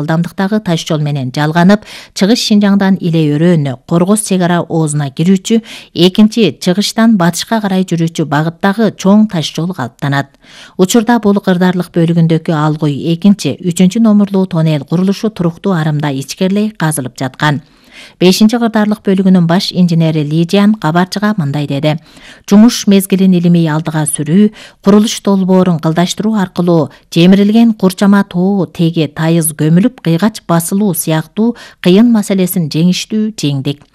ылдамдыктагы таш жол менен жалганып, чыгыш Шинжаңдан Иле өрөөнү, Коргоз чек ара оозуна кирүүчү, экинчи чыгыштан батышка карай жүрүүчү багыттагы чоң таш жол калыптанат. Учурда бул кырдаарлык бөлүгүндөгү Алгой 2-3 номерлуу тоннель курулушу туруктуу арымда ичкерлей казылып жаткан. 5-кырдаарлык бөлүгүнүн баш инженери Лижиан кабарчыга мындай деди. Жумуш мезгилин илимий алдыга сүрүү, курулуш долбоорун кылдаштыруу аркылуу темирилген курчама тоо теги тайыз көмүлүп кыйгач басылуу сыяктуу кыйын маселесин жеңиштүү жеңдик.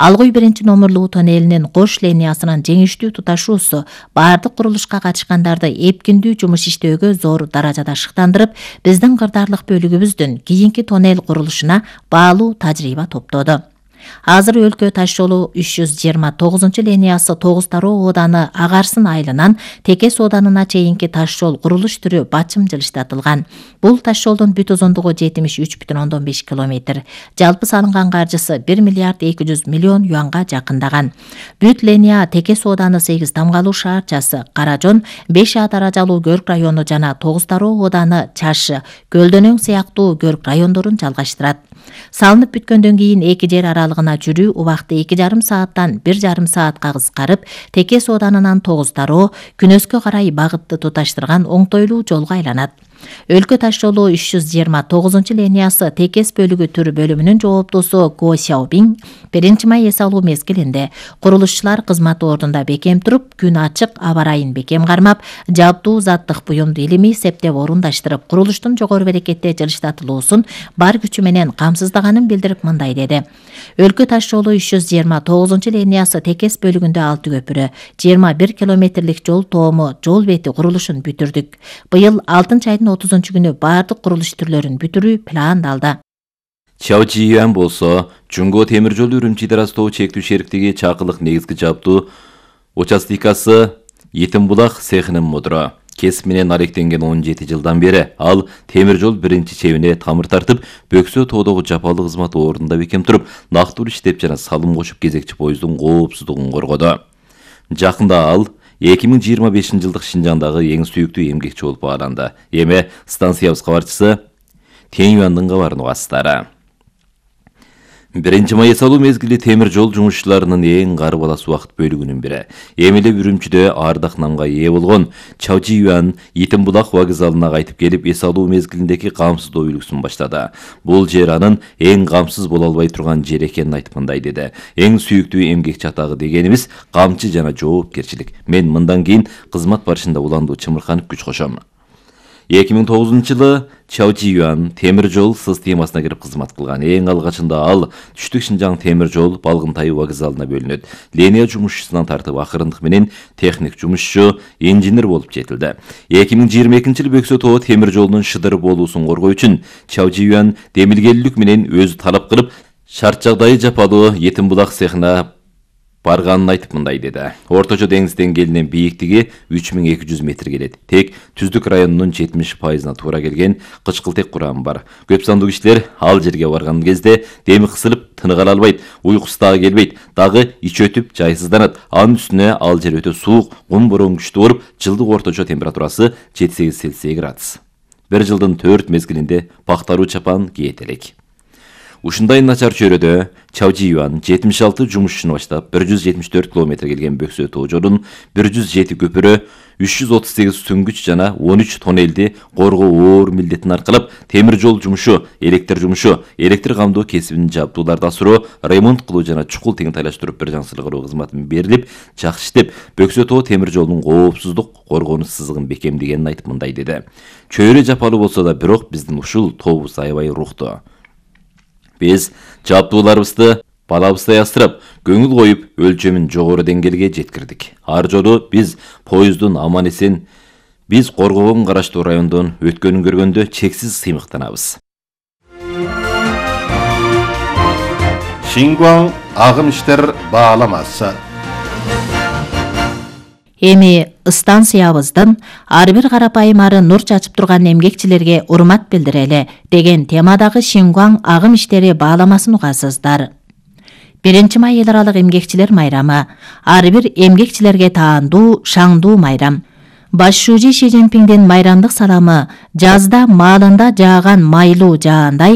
Алгой 1 номерлуу тоннелинин кош линиясынын жеңиштүү туташуусу баардык курулушка катышкандарды эпкиндүү жумуш иштөөгө зор даражада шыктандырып, биздин кырдаарлык бөлүгүбүздүн кийинки тоннель курулушуна баалуу тажрыйба топтоду. Азыр өлкө таш жолу 329 линиясы Тогуз Тароо ооданы Агарсын айылынан Текес ооданына чейинки таш жол курулуш түрү бачым жылыштатылган. Бул таш жолдун бүт узундугу 73,5 километр. Жалпы салынган каржысы 1 миллиард 200 миллион юанга жакындаган. Бүт линия Текес ооданы 8 Тамгалуу шаарчасы, Каражон, 5 даражалуу Көрк району жана Тогуз Тароо ооданы Чашы, Көлдөнөң сыяктуу Көрк райондорун жалгаштырат. Салынып бүткөндөн кийин эки жер аралыгына жүрүү убакыты 2,5 сааттан 1,5 саатка кыскарып, Текес ооданынан Тогуз Тароо күнөскө карай багытты туташтырган оңтойлуу жолго айланат. Өлкө таш жолу 329 линиясы Текес бөлүгү түр бөлүмүнүн жооптусу Го Сяобин 1 май эс алуу мезгилинде курулушчулар кызмат ордунда бекем туруп, күн ачык аба ырайын бекем кармап, жабдуу заттык буюмду илимий септеп орундаштырып, курулуштун жогору берекетте жылыштатылуусун бар күчү менен камсыздаганын билдирип мындай деди. Өлкө таш жолу 329 линиясы Текес бөлүгүндө 6 көпүрө, 21 километрлик жол тоому, жол бети курулушун бүтүрдүк. Быйыл 6 айдын 30-күнү баардык курулуш түрлөрүн бүтүрүү пландалды. Чао Жиюан болсо, Жунго темир жолу Үрүмчи Астоо чектүү шериктиги чакылык негизги жабдуу участикасы Етимбулак цехинин мудуру. Кесип менен аректенген 17 жылдан бери ал темир жол биринчи чебине тамыр тартып, Бөксө тоодогу жапалуу кызмат ордунда бекем туруп, нактуу иштеп жана салым кошуп кезекчи поезддун коопсуздугун коргоду. Жакында ал 2025 жылдык Шинжаңдагы эң сүйүктүү эмгекчи болуп бааланды. Эми станциябыз кабарчысы Теңюандын кабарын угасыздар. 1 май эс алуу мезгили темир жол жумушчуларынын эң кары балас убакыт бөлүгүнүн бири. Эми эле Үрүмчүдө ардак намга ээ болгон Чао Жиюан Етимбулак вокзалына кайтып келип, эс алуу мезгилиндеги камсыздоо үлгүсүн баштады. Бул жер анын эң камсыз боло албай турган жер экенин айтып мындай деди. Эң сүйүктүү эмгекчи атагы дегенибиз камчы жана жоопкерчилик. Мен мындан кийин кызмат барышында уландуу чымырканып күч кошом. 2009-жылы Чао Жиюан темир жол системасына кирип кызмат кылган. Эң алгачында ал Түштүк Шинжаң темир жол Балгынтай вокзалына бөлүнөт. Линия жумушчусунан тартып акырындык менен техник жумушчу, инженер болуп жетилди. 2022-жылы Бөксө тоо темир жолунун шыдыр болуусун коргоо үчүн Чао Жиюан демилгелүүлүк менен өзү талап кылып, шарт жагдайы жапалуу Етимбулак цехина барганын айтып мындай деди. Орточо деңиз деңгээлинен бийиктиги 3200 метр келет. Тек Түздүк районунун 70%-на туура келген кычкылтек курамы бар. Көп сандуу кишилер ал жерге барган кезде деми кысылып, тыныга ала албайт, уйкусу дагы келбейт, дагы ич өтүп, жайсызданат. Анын үстүнө ал жер өтө суук, кум бороон күчтүү болуп, жылдык орточо температурасы 7-8 Цельсий градус. Bir жылдын 4 мезгилинде пактаруу чапан кийет элек. Ушундай начар чөйрөдө Чао Жиюан 76 жумушчуну баштап 174 километр келген Бөксө тоо жолун 107 көпүрө, 338 сүңгүч жана 13 тоннелди коргоо оор милдетин аркалап, темир жол жумушу, электр камдоо кесибин жабдууларды асыруу, ремонт кылуу жана чукул тең тайлаштырып бир жаңсылык кылуу кызматын берилип, жакшы иштеп, Бөксө тоо темир жолунун коопсуздук коргонуч сызыгын бекемдегенин айтып мындай деди. Чөйрө жапалуу болсо да, бирок биздин ушул тобубуз аябай руктуу. Биз жабдууларыбызды балабыздай астырып, көңүл коюп, өлчөмүн жогору деңгээлге жеткирдик. Ар жолу биз поезддун аман-эсен, биз коргоого караштуу райондон өткөнүн көргөндө чексиз сыймыктанабыз. Шингуаң агым иштер бааламасы. Эми станциябыздын ар бир карапайым ары нур чачып турган эмгекчилерге урмат билдирели деген темадагы Шингуаң агым иштери бааламасын угасыздар. 1 май эл аралык эмгекчилер майрамы ар бир эмгекчилерге таандуу, шаңдуу майрам. Башчуучу Ши Цзиньпиңдин майрамдык саламы жазда маалында жааган майлуу жаандай